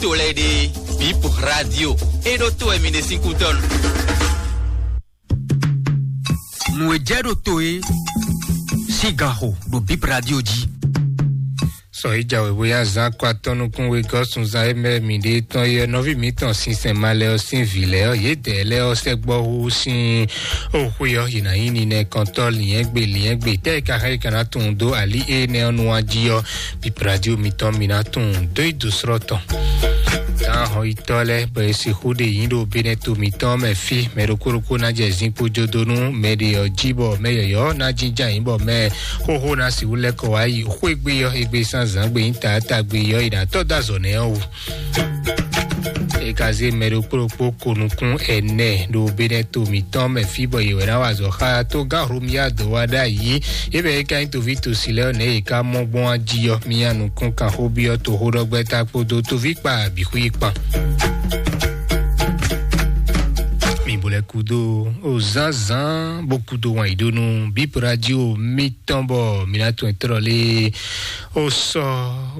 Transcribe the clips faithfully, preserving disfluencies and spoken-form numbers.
to lɛ́ɛ ɖe, Bip Radio. É ɖó to wɛ mi ɖe sín kútɔ́nu. Nǔ e jɛ ɖo to é sín gan xo ɖo Bip Radio jí. Sɔ yi jɛ wěwé ya zán kɔ atɔ́ nukún wegɔ́ sunzan e mɛ mǐ ɖe tɔn yɛ nɔví mǐtɔn sinsɛn ma lɛ ɔ́ sín vǐ lɛ́ɛ ɔ́, yědɛɛ lɛ́ɛ ɔ́ sɛgbɔ hú sín o xwé ɔ́, yě ná nyí ninɛkɔntɔ́ liɛ́ngbe liɛ́ngbe tɛ́ e ka xá yi ka ná tunwun dó alí énɛ́ ɔ́ nu wá jí ɔ́, Bip Radio mitɔn mǐ ná tunwun dó yi dǒ srɔ́ tɔn. Gǎn hɔnyitɔ́ lɛ́ɛ bɔ è sixú ɖe yǐ ɖo Benɛto mǐtɔn mɛ fí, mɛ ɖokpó ɖokpó ná jɛ zinkpo jó dó nú mɛ ɖě ɔ́ jí, bɔ mɛ yɔ̌yɔ́ ná jínjɔ́n ayǐ, bɔ mɛ xóxó ná sixú lɛ́ kɔ wá yi xwé gbe ɔ́, égbé sín azǎn gbe nyí taátagbe ɔ́, è nǎ tɔ́ dó azɔ̌ nɛ́ ɔ́ wú. É ka zé mɛ ɖokpó ɖokpó ko nukún ɛnɛ ɖo Benɛto mǐtɔn mɛ fí, bɔ yě wɛ ná wa azɔ̌ xá tógán Hlomia dó wá ɖ'ayǐ. É bɛ́ é ka nyí toví tosi lɛ́ɛ ɔ́, nɛ̌ yě ká mɔ gbɔn wá jí ɔ́, mì nyi nukún kan xó byɔ́ toxóɖɔgbɛ́ta kpódó tovíkpa bǐ xwí kpan. Mi bo lɛ́ kúdó o zánzán bó kúdó wǎn yí ɖó nú Bip Radio mitɔn, bɔ mi ná tunwun tlɔ́ lé o sɔ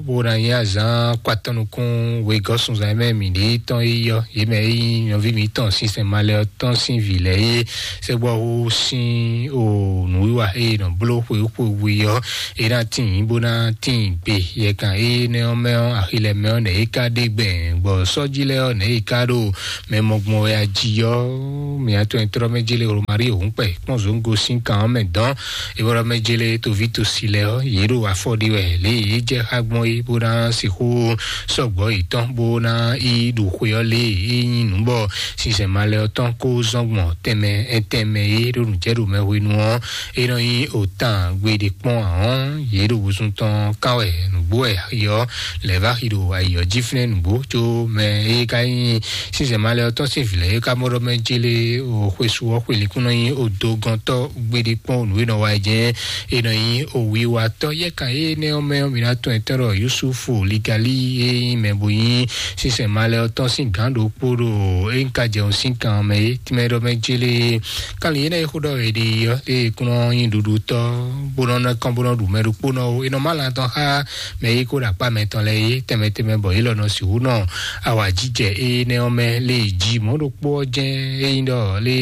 bó ná nyí azán kɔ atɔ́ nukún wegɔ́ sunzan mɛ mǐ ɖe tɔn yi ɔ́, yě mɛ e nyí nɔví mǐtɔn sinsɛn malɛ ɔ́ tɔn sín vǐ lɛ́ɛ é sɛgbɔ́ hú sín o nǔwiwa e nɔ bló xweyǐxweyǐ ɔ́, é ná tíin bó ná tíin gbe. Yɛkan énɛ́ ɔ́ mɛ ɔ́, axi lɛ́ɛ mɛ ɔ́, nɛ̌ é ka ɖe gbɛn, bɔ sɔ́jí lɛ́ɛ ɔ́, nɛ̌ é ka ɖo mɛ mɔgbɔn wɛ ají ɔ́, mǐ atɔn e tlɔ́ mɛ jélé Romari òhúnkpɛ kpɔ́n zǒngo sín kan ɔ́ mɛ dɔn. É bɔ́ ɖɔ mɛ jélé toví tosi lɛ́ɛ ɔ́, yě ɖo afɔ ɖi wɛ lě e yě jɛ xá gbɔn é, bó ná sixú sɔgbɔ́ yětɔn, bó ná yi ɖo xwe ɔ́ lě e é nyí nǔ bɔ sinsɛn malɛ ɔ́ tɔn kó zɔn gbɔn tɛnmɛ tɛnmɛ é ɖo nǔjɛɖomɛ hwenu ɔ́, é nɔ nyí òtan gbeɖé kpɔ́n ahɔ́n. Yě ɖo wosún tɔn kán wɛ nǔgbó wɛ ayǐ ɔ́ lɛ̌ vá xi ɖo ayǐ ɔ́ jí flɛ́n nǔgbó, có mɛ e ka nyí sinsɛn malɛ ɔ́ tɔn sín vǐ lɛ́ɛ é ka mɔ ɖɔ mɛ jélé o xwesú ɔ́ xwe líkún nɔ nyí odogɔntɔ́ gbeɖé kpɔ́n nǔ e nɔ wa jɛ́n é nɔ nyí owiwatɔ́. Yɛ́kan énɛ́ ɔ́ mɛ ɔ́, mǐ ná tɔn ɛtɛ́ ɖɔ Yusufu Ligali e nyí mɛ bo nyí sinsɛn malɛ ɔ́ tɔn sín gǎn ɖokpó ɖo é ka jɛ ɔ́ sín kan mɛ é tínmɛ ɖɔ mɛ jélé. Kanlin énɛ́ e xó ɖɔ è ɖi ɔ́, é kún nɔ nyí ɖuɖutɔ́, bó nɔ nɔ kán bó nɔ ɖu mɛ ɖokpónɔ ó. È nɔ má lan tɔn xá mɛ e ko ɖo akpá mɛtɔn lɛ́ɛ é tɛnmɛ tɛnmɛ, bɔ yě lɔ nɔ sixú nɔ awǎjijɛ énɛ́ ɔ́ mɛ lé jí. Mɔ̌ ɖokpó ɔ́ jɛ́n é nyí ɖɔ lé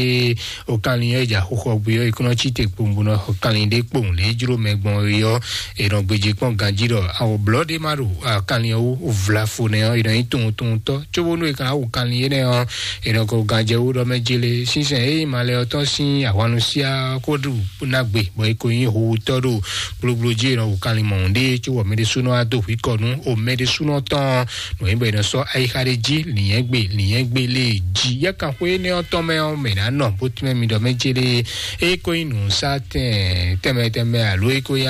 o kanlin ɔ́ e jɛ axoxɔ gbe ɔ́, è kún nɔ cí te kpowun bó nɔ xɔ kanlin ɖé kpowun lě e jló mɛ gbɔn é ɔ́, è nɔ gbéjé kpɔ́n ganjí ɖɔ awɔ blɔ̌ ɖé má ɖo kanlin ɔ́ wú vlafo nɛ́ ɔ́, è nɔ nyí tunwuntunwuntɔ́. Cóbónú è ka ná wu kanlin énɛ́ ɔ́, è nɔ ko ganjɛ wú ɖɔ mɛ jélé. Sínsɛn e nyí malɛ ɔ́ tɔn sín ahwannusiá ko ɖu ná gbe, bɔ è ko nyí howutɔ́ ɖo gblogblo jí, è nɔ wu kanlin mɔ̌hun ɖé, cóbɔ mɛ ɖésúnɔ wá dó hwǐ kɔ nú o mɛ ɖésúnɔ tɔn nǔ e bɔ è nɔ sɔ́ ayixa ɖé jí, lǐnyɛ́gbe lǐnyɛ́gbe lé jí. Yɛ́kanxwé énɛ́ ɔ́ tɔn mɛ ɔ́, mɛ ná nɔ bó tínmɛ mi ɖɔ mɛ jélé. É ko nyí nǔsátɛn tɛnmɛ tɛnmɛ alo é ko nyí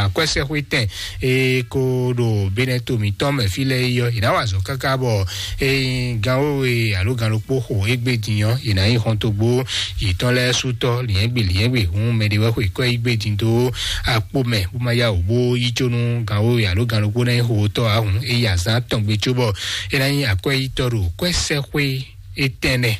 akwɛ́sɛxwétɛn e ko ɖo Benɛto mǐtɔn mɛ fí lɛ́ɛ yi ɔ́, è nǎ wa azɔ̌ káká bɔ ényí gan wéwe alo gan ɖokpó xo égbé din ɔ́, è nǎ nyí xɔntogbó yětɔn lɛ́ɛ sú tɔ́ lǐnyɛ́gbe lǐnyɛ́gbe hǔn mɛɖé wɛ xwe kɔ́ égbé din dó akpó mɛ bó má yá wǔ bó yí có nú gan wéwe alo gan ɖokpó ná nyí xotɔ́ ǎ hǔn, é yi azǎn tɔn gbe cóbɔ é ná nyí akwɛ́yítɔ́ ɖo kwɛ́sɛxwé étɛ́nɛ́.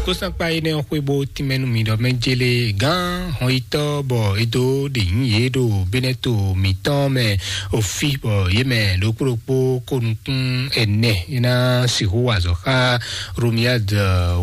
Kósankpa énɛ́ ɔ́ xwé bó tínmɛ nú mi ɖɔ mɛ jélé gán hɔnyitɔ́ bɔ é dó ɖe nyǐ yě ɖo Benɛto mǐtɔn mɛ ofí, bɔ yě mɛ ɖokpó ɖokpó ko nukún ɛnɛ é ná sixú wa azɔ̌ xá Romiad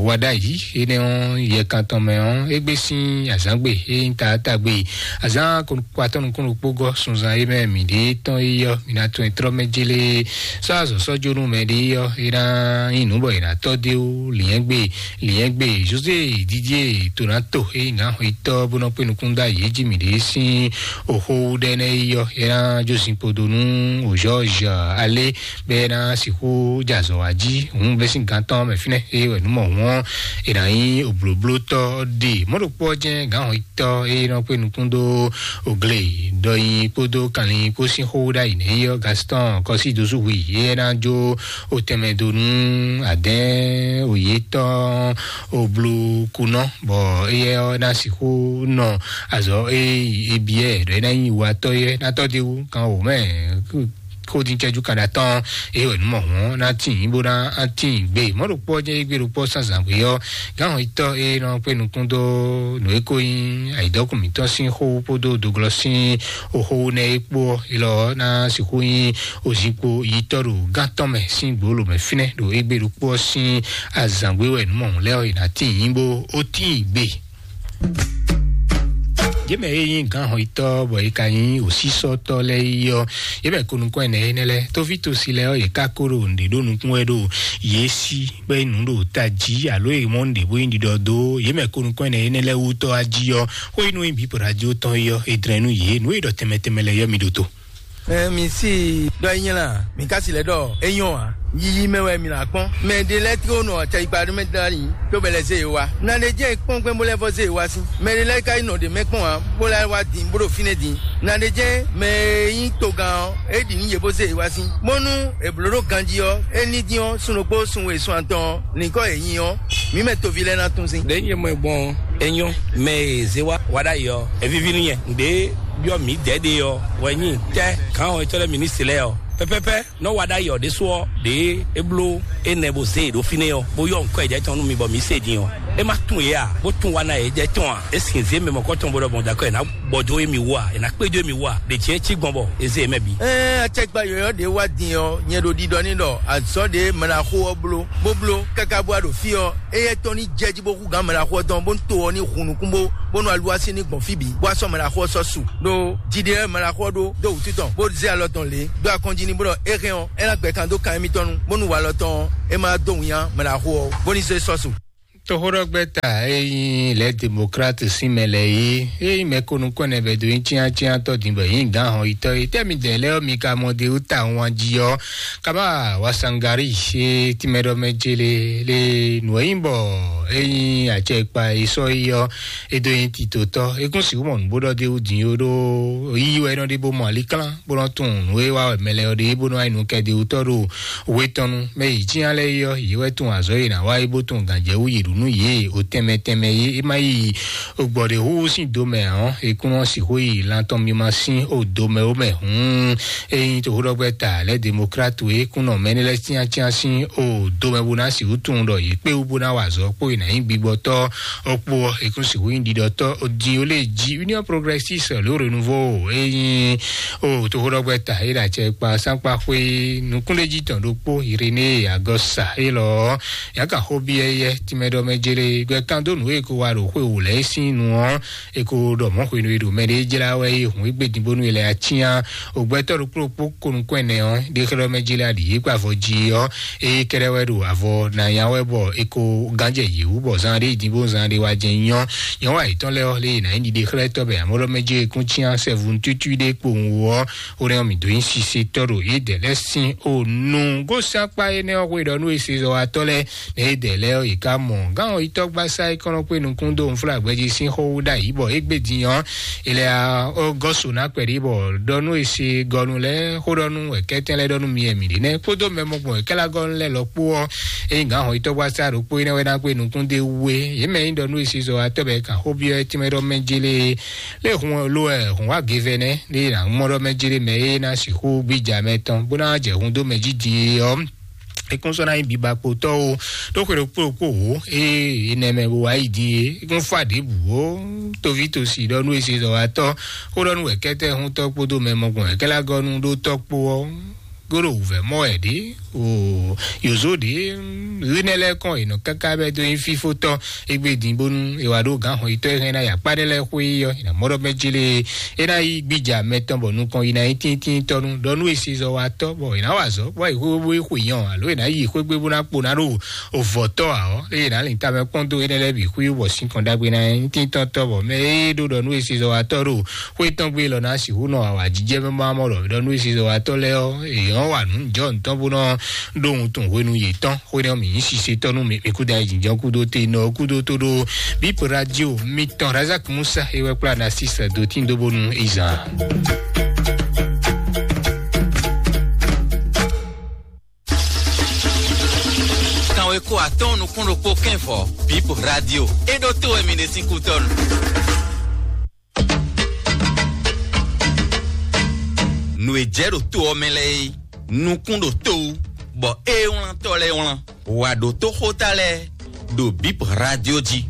wa ɖ'ayǐ. Énɛ́ ɔ́, yɛkan tɔn mɛ ɔ́, égbé sín azǎngbe é nyí taatagbe azǎn kpatɔ́ nukún ɖokpó gɔ́ sunzan é mɛ mǐ ɖe tɔn é yɔ́, mǐ ná tɔn ɛ tlɔ́ mɛ jélé sɔ́ azɔ̌ sɔ́ jó nú mɛ ɖé ɔ́, é ná nyí nǔ bɔ è nǎ tɔ́ dó é wú. Lǐnyɛ́gbe lǐnyɛ́gbe José Didier Tonato é nyí nǎ xwetɔ́ bó nɔ́ kpé nukún dó ayǐ jí mǐ ɖě sín oxó wú ɖɛ́ nɛ́ é yɔ́, é ná jó zinkpo dó nú Georges Alé bɔ é ná sixú jɛ azɔ̌ wá jí. Hǔn bɛ́ sín gán tɔn mɛ fínɛ́ é wɛ nǔ mɔ hǔn ɔ́, è nǎ nyí oblǒblótɔ́ ɖe. Mɔ̌ ɖokpó ɔ́ jɛ́n gǎn hɔn tɔ́ e nɔ kpé nukún dó ogle ɖɔnyi kpódó kanlin kpó sín xó ɖ'ayǐ nɛ é ɔ́, Gaston kɔsí dozú hu yě ná jó otɛnmɛ dó nú adɛ̌n òye tɔn oblukunɔ, bɔ éyɛ́ ɔ́ ná sixú nɔ azɔ̌ e ebiɛ ɖɔ é ná nyí watɔ́ yɛ ná tɔ́ dó wú kan wǒ mɛ kó dín cɛ́jú kan ɖo atɔ́n, é wɛ nǔ mɔ hɔn ná tín bó ná tín gbé. Mɔ̌ ɖokpó ɔ́ jẹ́ égbé ɖokpó sánzǎn gbé ɔ́, gǎn hɔn yitɔ́ é nɔ kpé nukún dó nǔ e ko nyí ayǐdɔ́kun mǐtɔn sín xó kpódó doglɔ sín xó nɛ́ é kpó ɔ́, é lɔ ɔ́ ná sixú nyí òzinkpo yitɔ́ ɖo gán tɔn mɛ sín gbǒlǒ mɛ fínɛ́ ɖo égbé ɖokpó ɔ́ sín azǎn gbé wɛ nǔ mɔ hɔn lɛ́ɛ ɔ́, è nǎ tín bó ó tín gbé. Yě mɛ e nyí gǎn hɔnyitɔ́ bɔ è ka nyí òsísɔ́tɔ́ lɛ́ɛ yi ɔ́, yě mɛ ko nukɔn ɛnɛ énɛ́ lɛ́ɛ, tófítosi lɛ́ɛ ɔ́, yě ka ko ɖo nǔɖé ɖó nukún wɛ ɖo yě sí, bɔ é nǔ ɖo tají alo è mɔ nǔɖé bó nyí ɖiɖɔ dó yě mɛ ko nukɔn ɛnɛ énɛ́ lɛ́ɛ wú tɔ́ wá jí ɔ́, xó e nú nyí bǐ radio tɔn é ɔ́, è dlɛ́n nú yě nǔ e ɖɔ tɛnmɛ tɛnmɛ lɛ́ɛ ɔ́, mi ɖo to. Ɛ mi si ɖɔ é nyla, mi ka si lɛ ɖɔ é nyɔ ǎ. Yiyi mɛ wɛ mi na kpɔn. Mɛ ɖe lɛ tiko nɔ acɛyikpa ɖé mɛ dali, tó bɛ lɛ zé e wa. Na ɖe jɛ kpɔn gbɛn bó lɛ vɔ zé e wa si. Mɛ ɖe lɛ ka yi nɔ ɖe mɛ kpɔn ǎ, bó lɛ wa din bó ɖo fínɛ din. Na ɖe jɛ mɛ e nyí togán ɔ́, é ɖi nú yě bó zé e wa si. Bónú è blǒ ɖó ganjí ɔ́, é ní dín ɔ́, sun ɖokpó sun we sun atɔn ɔ́, nǐkɔ è nyi ɔ́, mǐ mɛ toví lɛ́ɛ ná tún sín. Ɖě nyɛ mɔ gbɔn é nyɔ́, mɛ e zé wá wá ɖ'ayǐ ɔ́, é víví nú nyɛ. Nǔɖé byɔ́ mǐ dɛ̌ ɖe ɔ́ wɛ nyí tɛ́ gǎn ɔ́ e tɔ́ lɛ́ɛ mǐ ní se lɛ́ɛ ɔ́. Pɛpɛpɛ nɔ wa ɖ'ayǐ ɔ́ ɖésú ɔ́, ɖě é bló énɛ́ bó zé e ɖó fínɛ́ ɔ́, bó yɔ nǔkɔ e jɛ tɔn nú mi bɔ mǐ se din ɔ́, é má tún yě a, bó tún wa ná yě jɛ tɔn a? É sin zé mɛ mɔ̌kɔtɔn bó ɖɔ mɔ̌ dó akɔ è nǎ bɔ dó émí wú a? È nǎ kpédó émí wú a? Ɖě jɛ́n cí gbɔn bɔ è zé yě mɛ bǐ. Ɛɛ, acɛkpa yɔ̌yɔ́ ɖě wá din ɔ́, nyɛ ɖo ɖiɖɔ n'i ɖɔ azɔ̌ ɖě mlaxó ɔ́ bló, bó bló káká bó wá ɖo fí ɔ́, éyɛ́ tɔn ní jɛ jí bó hú gǎn mlaxó ɔ́ tɔn, bónú to ɔ́ ní hun nukún bó, bónú aluwá sín ní gbɔn fí bǐ, bó wá sɔ́ mlaxó ɔ́ sɔ́ su ɖó jiɖe lɛ́ɛ mlaxó ɔ́ ɖó dó wǔtu tɔn, bó zé alɔ tɔn lě dó akɔ́njí ní, bó ɖɔ é hɛn ɔ́, é ná gbɛ kan dó kan émítɔn nu, bónú walɔ tɔn ɔ́, é má dó winnyá mlaxó ɔ́, bó ní zé sɔ́ su. Toxóɖɔgbɛ́ta e nyí lɛ̌ demokrat sín mɛ lɛ́ɛ é, é nyí mɛ ko nukɔn ɛnɛ bɛ́ dó nyí cyáncyántɔ́ din bɔ yě nyí gǎn hɔn yitɔ́ é. Tɛ́ midɛɛ lɛ́ɛ ɔ́, mi ka mɔ de wú tawun jí ɔ́, kaba wasangari e tínmɛ ɖɔ mɛ célé lé nǔ e nyí bɔ é nyí acɛkpa e sɔ́ yi ɔ́, é dó nyí titotɔ́. É kún sixú mɔ nǔ bó ɖɔ d'é wú din ó, ɖó yíyí wɛ é nɔ ɖe bó mɔ aliklán, bó nɔ tunwun nǔ e wa wɛ mɛ lɛ́ɛ ɔ́ ɖe, bó nɔ wá yi nú kɛdewutɔ́ ɖo we tɔn nu. Mɛ yi cyán lɛ́ɛ yi ɔ́, yě wɛ tunwun azɔ̌ e è nǎ wa é, bó tunwun gǎnjɛwú yě ɖu nú yě o tɛnmɛ tɛnmɛ é. É má yi gbɔ̌ɖěhúhú sín do mɛ ǎ ɔ́, é kún nɔ sixú yi lan tɔn mímá sín o do mɛ ó mɛ hǔn. É nyí toxóɖɔgbɛ́ta lɛ́ demokrat e kún nɔ mɛ énɛ́ lɛ́ɛ cyáncyán sín o do mɛ bó ná sixú tunwun ɖɔ yě kpé wú bó ná wa azɔ̌ kpó è nǎ nyí gbigbɔtɔ́ ɔ́ kpó ɔ́, è kún sixú nyí ɖiɖɔtɔ́ din ó lé jí Union Progressiste le Renouveau. É nyí o toxóɖɔgbɛ́ta é ɖo acɛ kpa sánkpa xwé nukúnɖéjí tɔn ɖokpó Iréné Agɔsa élɔ́. Yǎ ka xó byɔ́ éyɛ́ tínmɛ ɖɔ mɛ jélé gbɛ kan dó nǔ e ko wa ɖo xwé wǒ lɛ́ɛ sín nu ɔ́, e ko ɖɔ mɔ̌ hwenu e ɖo mɛ ɖé jlá wɛ é hun égbé din bónú è lɛ acyán. Ògbɛtɔ́ ɖokpó ɖokpó ko nukún ɛnɛ ɔ́, ɖé xlɛ́ mɛ jélé aɖǐ yě kpa avɔ jí ɔ́, é kɛ́ɖɛ́ wɛ ɖo avɔ ná nya wɛ bɔ é ko gánjɛ yě wú bɔ zán ɖé yi din bó zán ɖé wá jɛ nyɔ́. Nyɔ̌ wa yětɔn lɛ́ɛ ɔ́, lé yě ná nyí ɖiɖe xlɛ́tɔ́ bɛ amɔ̌ ɖɔ mɛ jélé kún cyán sɛ́vun tútú ɖé kpowun wú ɔ́, ó nɛ́ ɔ́ mǐ dó nyí sise tɔ́ ɖo yědɛɛ lɛ́ɛ sín o nu. Gósɛ́n akpa énɛ́ ɔ́ hwe ɖɔ nú e se zɔ wa tɔ́ lɛ́ɛ, mɛ édɛɛ lɛ́ɛ ɔ́, è ká mɔ gǎn ɔ́ yítɔ́gbasá e kɔn nɔ kpé nukún dó nfúlagbɛjí sín xó wú ɖ'ayǐ bɔ égbé din ɔ́, è lɛ ɔ́ gɔ́ so ná kpɛɖí bɔ ɖɔ nú e se gɔnu lɛ́ɛ xó ɖɔ nú wɛ̌kɛ́tɛn lɛ́ɛ ɖɔ nú mi wɛ mǐ ɖe nɛ́ kpódó mɛ mɔgbɔn wɛ̌kɛ́lágɔ́nu lɛ́ɛ lɔ kpó ɔ́, ényí gǎn ɔ́ yítɔ́gbasá ɖokpó énɛ́ wɛ ná kpé nukún dó wú é. Yě mɛ nyí ɖɔ nú e se zɔ wa tɔ́ bɔ è kan xó byɔ́ é tínmɛ ɖɔ mɛ jélé é. Lé hun lo ɛ hun wá gevɛ nɛ́ lé ná mɔ ɖɔ mɛ jélé mɛ é ná sixú gbíjà mɛ tɔn bó ná jɛ hun dó mɛ jí din é ɔ́, é kún sɔ́ ná nyí bibakpotɔ́ o. Ɖó xwe ɖokpó ɖokpó wǒ é énɛ́ mɛ bó wá yi din é, é kún fá ɖěbǔ ó. Toví tosi ɖɔ nú e se zɔ wa tɔ́ xó ɖɔ nú wɛ̌kɛ́tɛ́ hun tɔ́ kpódó mɛ mɔgbɔn wɛ̌kɛ́lágɔ́nu ɖó tɔ́ kpó ɔ́, gó ɖo wǔvɛ́ mɔ wɛ ɖě o. Yǒzo ɖě ɣínɛ lɛ́ɛ kɔn è nɔ káká bɛ́ dó nyí fífótɔ́ égbé din bónú è wá ɖó gǎn hɔn yitɔ́ e hɛn ná yi akpá ɖé lɛ́ɛ xwé yi ɔ́, è nǎ mɔ ɖɔ mɛ jélé é ná yí gbíjà mɛ tɔn bɔ nukɔn yi ná nyí tíntín tɔ́ nú ɖɔ nú e se zɔ wa tɔ́ bɔ è nǎ wa azɔ̌ bɔ è xwé bó xwe nyɔ alo è nǎ yi xwé gbé bó ná kpo ná ɖo ovɔ̌tɔ́ ǎ ɔ́, eye nǎ lin tamɛ kpɔ́n dó énɛ́ lɛ́ɛ bǐ xwí bɔ sín kɔn ɖagbe ná nyí tíntín tɔ́ bɔ mɛ e ɖó ɖɔ nú e se zɔ wa tɔ́ ɖo xwé tɔn gbe lɔ ná sixú nɔ awǎjijɛ mɛ má mɔ ɖɔ ɖɔ nú e se zɔ wa tɔ́ lɛ́ɛ ɔ́, èyàn wa nǔ jɔ ntɔ́ bó nɔ ɖó wuntun hwenu yětɔn. Xwénɛ́ ɔ́, mǐ nyí sisetɔ́ nú mi, mi kúdó ayǐjínjɔ́n kúdó te nɔ kúdó tó ɖó bíp radio mitɔn Razak Musa e wɛ kplá Narcisse dó tín dó bónú izan. Kanwe kó atɔ́ɔ́n nukún ɖokpó kɛ́nvɔ bíp radio. É ɖó tó wɛ mi ɖe sín kútɔ́nu. Nǔ e jɛ ɖo to ɔ́ mɛ lɛ́ɛ é. nukún ɖo to wú, bɔ é wlántɔ́ lɛ́ɛ wlán. Wǎ ɖótó xóta lɛ́ɛ ɖo Bib Radio jí.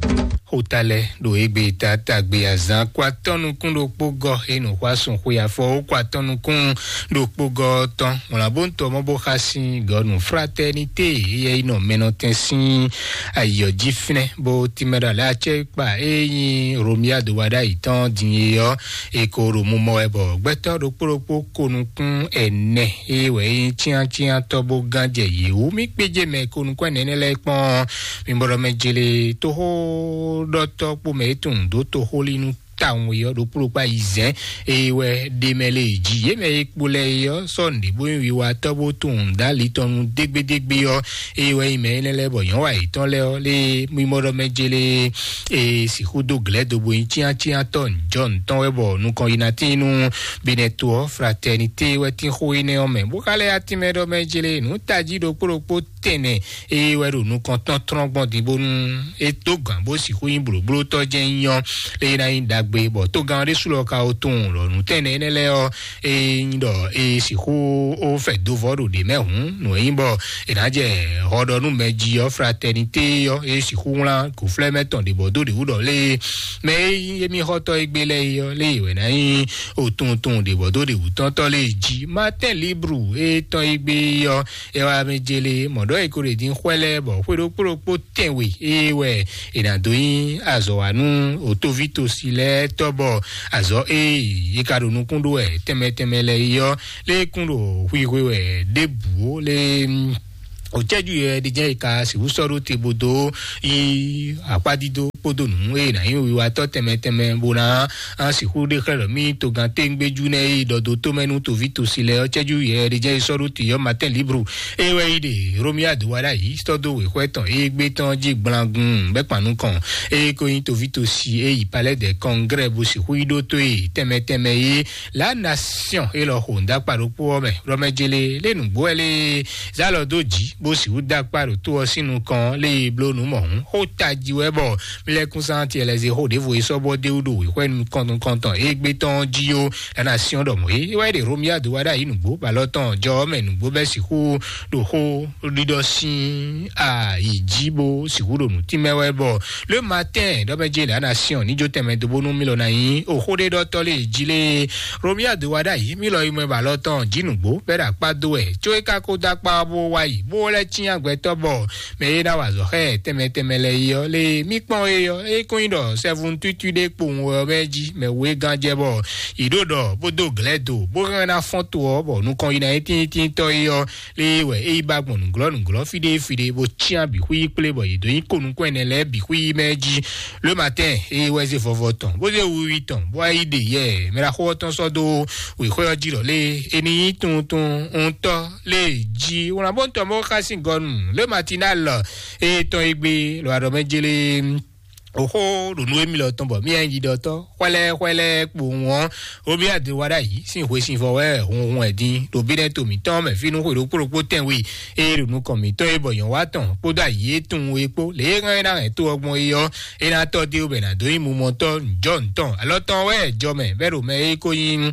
Xóta lɛ́ɛ ɖo égbé ta tagbe azǎn kó atɔ́ nukún ɖokpó gɔ́ é nǔ xwá sun xwe afɔ ó kó atɔ́ nukún ɖokpó gɔ́ tɔn. Wlǎn bó ń tɔ mɔ bó xa sín gɔ́ nǔ fraternité éyɛ́ yi nɔ mɛnɔtɛn sín ayǐ ɔ́ jí fínɛ́ bó tínmɛ ɖo alɛ acɛ kpa é nyí Romia do wa ɖ'ayǐ tɔn din é ɔ́, è ko ɖo mumɔ wɛ bɔ gbɛtɔ́ ɖokpó ɖokpó ko nukún ɛnɛ é wɛ é nyí cyáncyántɔ́ bó gán jɛ yě wú. Mí kpéjé mɛ ko nukún ɛnɛ énɛ́ lɛ́ɛ kpɔ́n, mi bɔɖɔ mɛ jele tóxóɖɔtɔ́ kpó mɛ é tunwun dó toxólínú tawun e ɔ́ ɖokpó ɖokpó ayizɛ́n eye wɛ ɖe mɛ lě jí. Yě mɛ e kpo lɛ́ɛ é ɔ́ sɔ́ nǔɖé bó nyí wiwatɔ́ bó tunwun dó ali tɔn nu dégbédégbé ɔ́, eye wɛ nyí mɛ énɛ́ lɛ́ɛ bɔ nyɔ̌wa yětɔn lɛ́ɛ ɔ́ lé mímɔ́ ɖɔ mɛ jélé e sixú dó glɛ̌ do bo nyí cyáncyántɔ́ njɔ ntɔn wɛ bɔ nukɔn yi ná tín nú Benɛto ɔ́, Fraternité wɛ tín xó énɛ́ ɔ́ mɛ, bó ka lɛ́ yá tínmɛ ɖɔ mɛ jélé nǔ tají ɖokpó ɖokpó tɛnɛ eye wɛ ɖo nukɔn tɔn tlɔ́n gbɔn din bónú é dó gǎn bó sixú nyí blǒblótɔ́ jɛ́n nyí ɔ́, lé ná nyí ɖagbe bɔ tógán ɔ́ ɖésú lɔ ka wo tunwun ɖɔ nǔ tɛnɛ énɛ́ lɛ́ɛ ɔ́, é nyí ɖɔ é sixú ó fɛ dó vɔ́ ɖo ɖě mɛ hǔn, nǔ e nyí bɔ è nǎ jɛ hɔ ɖɔ nú mɛ jí ɔ́, Fraternité ɔ́, é sixú wlán gǒflɛ́ mɛ tɔn ɖě bɔ dó ɖě wú ɖɔ lé mɛ e nyí émí xɔ́tɔ́ e gbé lɛ́ɛ é ɔ́, lé wɛ ná nyí otunwun tunwun ɖě bɔ dó ɖě wú tɔn tɔ́ lé jí. Martin Libre e tɔn e gbé ɔ́, é wá mɛ jélé mɔ̌ ɖɔ é ko ɖe dín xwɛ lɛ́ɛ bɔ xwé ɖokpó ɖokpó tɛnwe é wɛ è nǎ dó nyí azɔ̌ wa nú òtóví tosi lɛ́ɛ tɔ́ bɔ azɔ̌ e yě ka ɖo nukún ɖó wɛ tɛnmɛ tɛnmɛ lɛ́ɛ é ɔ́, lé kún ɖo xwixwe wɛ ɖěbǔ ó lé. Òcɛ́jú yɛ ɖi jẹ́ ìka sixú sɔ́ ɖó te bó dó yi akpádídó kpódó nǔ e nǎ nyí wiwatɔ́ tɛnmɛ tɛnmɛ bó ná sixú ɖe xlɛ́ ɖɔ mí togán téŋgbéjú nɛ́ e ɖɔ dó tómɛ nú toví tosi lɛ́ɛ ɔ́, cɛ́jú yɛ ɖi jẹ́ sɔ́ ɖó te ɔ́ Martin Libre e wɛ yi ɖe Romia do wa ɖ'ayǐ sɔ́ dó wěxwɛ́ tɔn e gbé tɔn jí gblangun bɛ́ kpan nukɔn e ko nyí toví tosi e yi palais de congrès bó sixú yi ɖó tó e tɛnmɛ tɛnmɛ é La Nation e lɔ xo ŋdakpa ɖokpó ɔ́ mɛ ɖɔ mɛ jele lé nǔgbó wɛ lé zá lɔ dó jǐ bó sixú dó akpá ɖo tó ɔ́ sín nukɔn lé e bló nǔ mɔ̌hún xó tají wɛ bɔ mílɛ́kúnsántí ɛlɛzexó ɖěvo e sɔ́ bɔ dé wú ɖo wěxwɛ́ nukɔntɔn e gbé tɔn jí ó. La Nation ɖɔ mɔ̌ é wɛ ɖe Romia do wa ɖ'ayǐ nǔgbó bɔ alɔ tɔn jɔ ɔ́ mɛ nǔgbó bɛ́ sixú ɖo xó ɖiɖɔ sín ayǐ jí bó sixú ɖo nǔ tínmɛ wɛ bɔ Le Matin ɖɔ mɛ jele La Nation ní jó tɛnmɛ dó bónú mílɔ ná nyí oxó ɖé ɖɔtɔ́ lé jí lé Romia do wa ɖ'ayǐ mílɔ yi mɛ ba lɔ tɔn jí nǔgbó bɛ́ ɖo akpá dó wɛ có é ka ko dó akpá ɔ́ bó wá yi bó lɛ́ cyán gbɛtɔ́ bɔ mɛ e ná wa azɔ̌ xá ɛ tɛnmɛ tɛnmɛ lɛ́ɛ yi ɔ́ lé mí kpɔ́n é ɔ́ é kún nyí ɖɔ sɛ́vun tútú ɖé kpowun wɛ ɔ́ mɛ jí mɛ wú é gán jɛ bɔ yě ɖo ɖɔ bó dó glɛ̌ do bó hɛn ná fɔ́n to ɔ́ bɔ nukɔn yi ná nyí tíntíntɔ́ é ɔ́ lé wɛ é yi ba gbɔn nǔglɔ́ nǔglɔ́ fí ɖé fí ɖé bó cyán bǐ xwí kplé bɔ yě dó nyí ko nukún ɛnɛ lɛ́ɛ bǐ xwí mɛ jí. Le Matin é wɛ zé vɔvɔ tɔn bó zé wiwi tɔn bó wá yi ɖe yɛ mɛ ɖaxó ɔ́ tɔn sɔ́ dó wěxwé ɔ́ jí ɖɔ lé é ní nyí tuntun ŋutɔ́ lé jí wlán bó tɔn bó xá sín gɔnu Le Matinal é tɔn é gbé lɔ aɖɔ mɛ jélé oxó ɖo nú émí lɔ tɔn bɔ mí nyí ɖiɖɔtɔ́ xwɛlɛ xwɛlɛ kpowun ɔ́ omi ade wa ɖ'ayǐ sín hwesivɔ wɛ hunhun ɛ dín ɖo bínɛ́ to mǐtɔn mɛ fínú xwe ɖokpó ɖokpó tɛnwe eye ɖo nukɔn mǐtɔn e bɔ nyɔ̌ wa tɔn kpódó ayǐ e tunwun e kpó lě e hɛn é ná hɛn tó ɔ́ gbɔn é ɔ́ é ná tɔ́ dé wú bɔ è nǎ dó nyí mumɔtɔ́ njɔ̌ ntɔn alɔ tɔn wɛ jɔ mɛ bɛ́ ɖo mɛ e ko nyí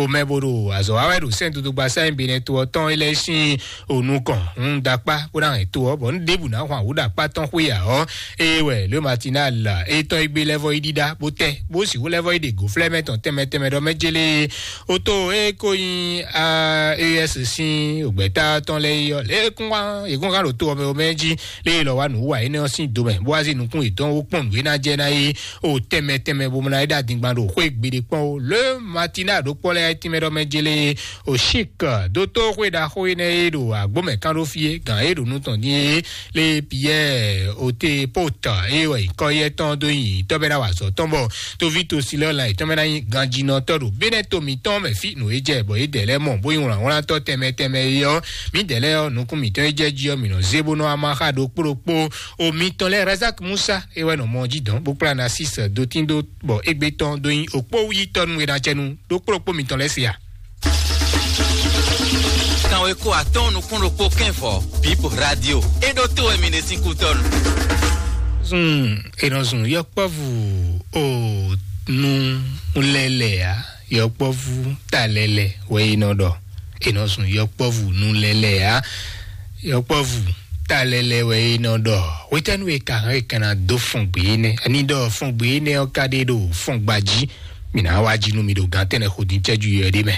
omɛ bo ɖo azɔ̌ wa wɛ ɖo sɛ́n dodogba sáyɛn benɛ to ɔ́ tɔn é lɛ́ɛ sín onukɔn un ɖo akpá bó ná hɛn to ɔ́ bɔ un ɖěbǔ ná hwan wǔ ɖo akpá tɔn xwé ǎ ɔ́ eye wɛ le matinal etɔn e gbé lɛ́vɔ yi ɖíɖá bó tɛ́ bó sixú lɛ́vɔ yi ɖe gǒflɛ́mɛ tɔn tɛnmɛ tɛnmɛ ɖɔ mɛ jélé oto e ko nyí a es sín ògbɛ́tá tɔn lɛ́ɛ yi ɔ́ lě kún wá yě kún hán ɖo to ɔmɛ ɔmɛ jí lě lɔ wá nǔ wa énɛ́ ɔ́ sín domɛ bó wá zí nukún yětɔn wó kpɔ́n nǔ e ná jɛ ná yi o tɛnmɛ tɛnmɛ bó mɔ ná yi ɖo adingban ɖo xwé gbeɖé kpɔ́n o le matinal ɖokpɔ lɛ́ɛ tínmɛ ɖɔ mɛ jélé o chic dótó xwé ɖaxó énɛ́ e ɖo agbómɛ kán ɖó fí é gǎn e ɖo nú tɔn dín é lé Pierre ote pota eye wɛ nyǐkɔ yɛ tɔn dó nyi tɔ́ bɛ́ ná wa azɔ̌ tɔn bɔ toví tosilɔ la yětɔn bɛ́ ná nyí ganjinɔtɔ́ ɖo bínɛ́ to mǐtɔn mɛ fí nǔ e jɛ bɔ yě dɛ lɛ́ɛ mɔ bó nyí wlǎnwlántɔ́ tɛnmɛ tɛnmɛ é ɔ́ mǐ dɛ lɛ́ɛ ɔ́ nukún mǐtɔn e jɛ jí ɔ́ mǐ nɔ zé bó nɔ amaxa ɖokpó ɖokpó o mitɔn lɛ́ɛ Razak Musa é wɛ nɔ mɔ jí dɔn bó kplá Narcisse dotín dó bɔ égbé tɔn dó nyí òkpó yítɔ́ nú e ná cɛ nú ɖokpó ɖokpó mitɔn lɛ́ɛ se a? Kanweko atɔ́ɔ́n nukún ɖokpó kɛ́nvɔ Bip Radio. É ɖó tó wɛ mi ɖe sín kútɔ́nu. Zun è nɔ zun yɔkpɔ́vú o nu lɛlɛ ǎ, yɔkpɔ́vú ta lɛlɛ wɛ è nɔ ɖɔ. è nɔ zun yɔkpɔ́vú nú lɛ́lɛ́ ǎ. Yɔkpɔ́vú ta lɛ́lɛ́ wɛ é nɔ ɖɔ. Hwetɛ́nu e ka hɛn é ka ná dó fɔn gbé énɛ́? Ani ɖɔ fɔn gbé énɛ́ ɔ́ ka ɖe ɖo fɔn gba jí. Mǐ ná wá jí nú mi ɖo gǎn tɛnɛ xo dín cɛ́jú yɔ ɖé mɛ.